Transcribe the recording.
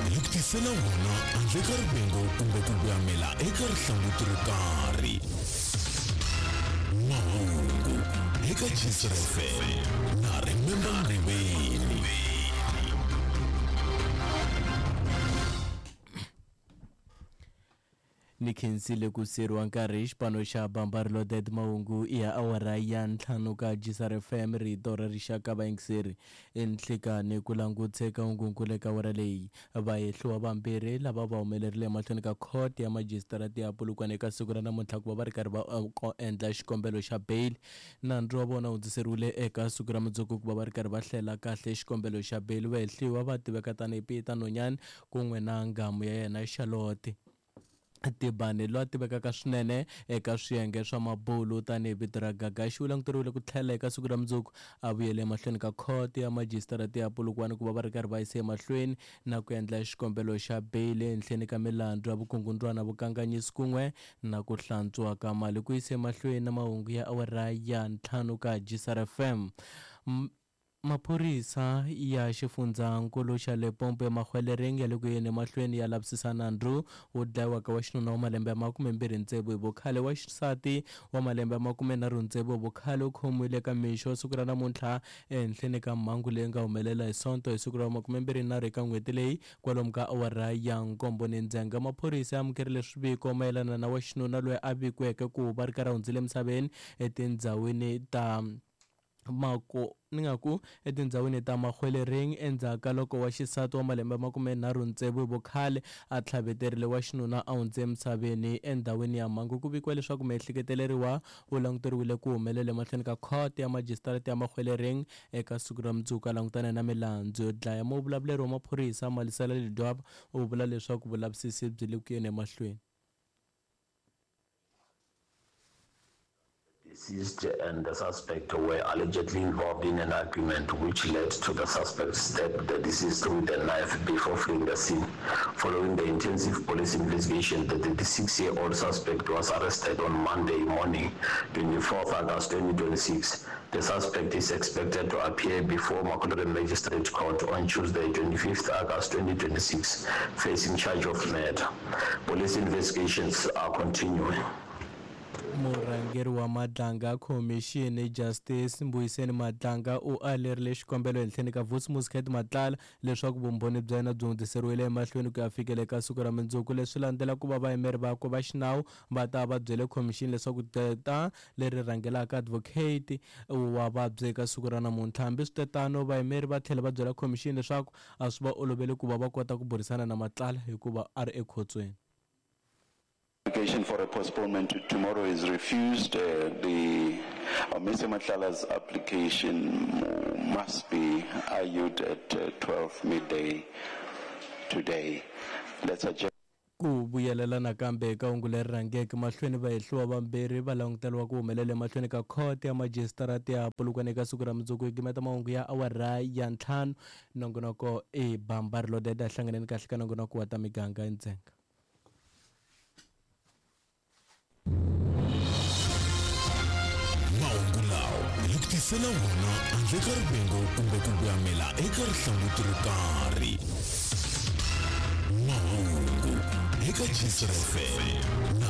hi ku tisela wona handle ka rivengo kumbe ku voyamela eka rihlanguti ro karhi. Mahungu eka Gcr FM na Remember Nguveni. Ni khensile ku siyeriwa nkarhi hi xipano xa Bamba Reloaded. Mahungu i ya awara ya ntlhanu ka Gisar FM, rito ra rixaka. Vayingiseri, enhlikani ku langutse ka hungunkulu eka awara leyi. Vahehliwa vambirhi lava va humelerile emahlweni ka court ya majisitarata ya Polokwane eka siku ra namuntlha ku va va ri karhi va endla xikombelo xa bail. Nandzu wa vona hundziseriwile eka siku ra mundzuku ku va va ri karhi va hlela kahle xikombelo xa bail. Vahehliwa va tiveka tanihi Peter Nonyane kun'we na nghamu ya yena Charlotte Tibani, loyi a tivekaka swinene eka swiyenge swa mabulu tanihi vito ra Gagashi. U languteriwile ku tlhela eka siku ra mundzuku a vuyele emahlweni ka khoto ya majisitarata ya Polokwane ku va va ri karhi va yisa emahlweni na ku endla xikombelo xa beyili ehenhleni ka milandzu ya vukungundzwana, vukanganyisi kun'we na ku hlantswiwa ka mali. Ku yisa emahlweni na mahungu ya awara ya ntlhanu ka Gisar FM. Maphorisa ya xifundzankulu xa Limpopo eMahwelereng ya le ku yeni emahlweni ya lavisisa nandzu wo dlayiwa ka wa xinuna wa malembe ya 26 hi vukhale. Wa xisati wa malembe ya 36 hi vukhale u khomiwile eka mixo siku ra namuntlha ehenhleni ka mhangu leyi nga humelela hi Sonto hi siku ra 23 eka n'hweti leyi kwalomu ka awara ya nkombo ni ndzhenga. Maphorisa ya amukerile swiviko mayelana na wa xinuna loyi a vikiweke ku va ri karhi a hundzile emisaveni etindhawini ta Mako ni nga ku etindhawini ta Mahwelereng endzhaku ka loko wa xisati wa malembe ya 36 hi vukhale a tlhaveterile wa xinuna a hundze emisaveni endhawini ya mhangu. Ku vikiwa leswaku miehleketeleriwa u languteriwile ku humelela emahlweni ka khoto ya majisitarata ya Mahwelereng eka siku ra mundzuku a langutana na milandzu yo dlaya. Muvulavuleri wa maphorisa Malisela Ledwaba u vula leswaku vulavisisi byi le ku yeni emahlweni. Deceased and the suspect were allegedly involved in an argument which led to the suspect stab the deceased with a knife before fleeing the scene. Following the intensive police investigation, the 36-year-old suspect was arrested on Monday morning, 24th August 2026. The suspect is expected to appear before Makulure Magistrate Court on Tuesday, 25th August 2026, facing charge of murder. Police investigations are continuing. Murhangeri wa Madlanga Khomixini Justice Mbuyiseni Madlanga u alerile xikombelo ehenhleni ka Vusi Muscat Matlala leswaku vumbhoni bya yena byi hundziseriwile emahlweni ku ya fikela eka siku ra mundzuku. Leswi landzela ku va vayimeri vakwe va xinawu va ta va byele khomixini leswaku gqweta leri rhangelaka advocate wa vabya eka siku ra namuntlha. Hambiswitetano, vayimeri va tlhela va byela khomixini leswaku a swi va oloveli ku va va kota ku burisana na Matlala hikuva a ri ekhotsweni. Application for a postponement to tomorrow is refused. The Mr. Matlala's application must be argued at 12 midday today. Let's adjourn. Ku vuyelela nakambe eka hungu leri rhangeke mahlweni, vahehliwa vambirhi va languteriwa ku humelela emahlweni ka khoto ya majisitarata ya Polokwane eka siku ra mundzuku. Hi gimeta mahungu ya awara ya ntlhanu. Nongonoko i Bamba Reloaded. A hlanganeni kahle ka nongonoko wa ta miganga endzhenga. Mahungu lawa hi ku tisela wona handle ka rivengo kumbe ku voyamela eka rihlanguti ro karhi. Mahungu eka Gcr FM na.